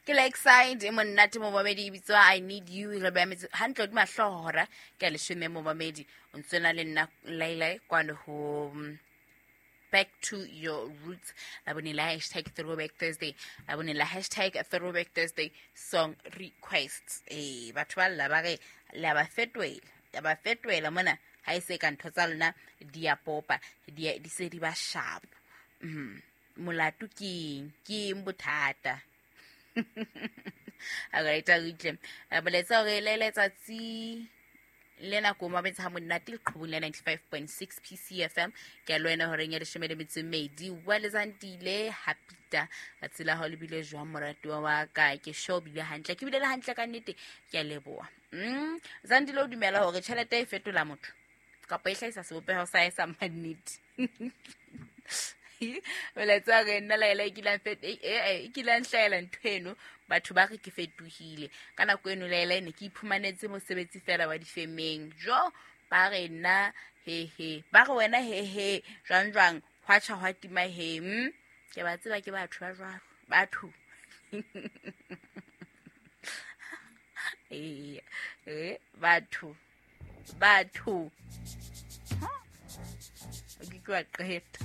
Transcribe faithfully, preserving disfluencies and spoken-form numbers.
Ke Lakeside e monate momamedi, e bitswa I Need You. Re beha metsi hantle hodima hlooho hora ke ya leshome. Momamedi, o ntse na le nna Laila kwano ho mm, Back to Your Roots, la bone la hashtag Throwback Thursday, la bone la hashtag Throwback Thursday song requests. Ee, batho ba lla, ba re le a ba fetohela, ya ba fetohela mona. Ha e se ka ntho tsa lona di a popa, di di se di ba sharp. mm. Molato ke eng? Ke eng bothata? Alright, a utlwe molaetsa hore le letsatsi le nako mabetse ha monate leqhubung la ninety-five point six P C F M. Ke a le wena horeng ya leshome le metso e mmedi wa letsantile hapita tsatsi la hao le bile jwang, moratuwa wa ka? Ke sure o bile hantle, ke bile le hantle ka nnete, ke a leboha. mm zandile o dumela hore tjhelete e fetola motho kapa e hlahisa sebopeho sa e sa mannete? Molaetsa re nna laela e kileng fet- e- e- e kileng hlahela ntho eno, batho ba re ke fetohile ka nako eno. Laela e ne ke iphumanetse mosebetsi fela wa difemeng. Jo, ba re nna hehe, ba re wena hehe, jwang jwang, hwa tjha hwa tima he. mm? Ke ba tseba, ke batho ba jwalo, batho. Ee, eh, batho batho. Ha? O ke ke wa qeta.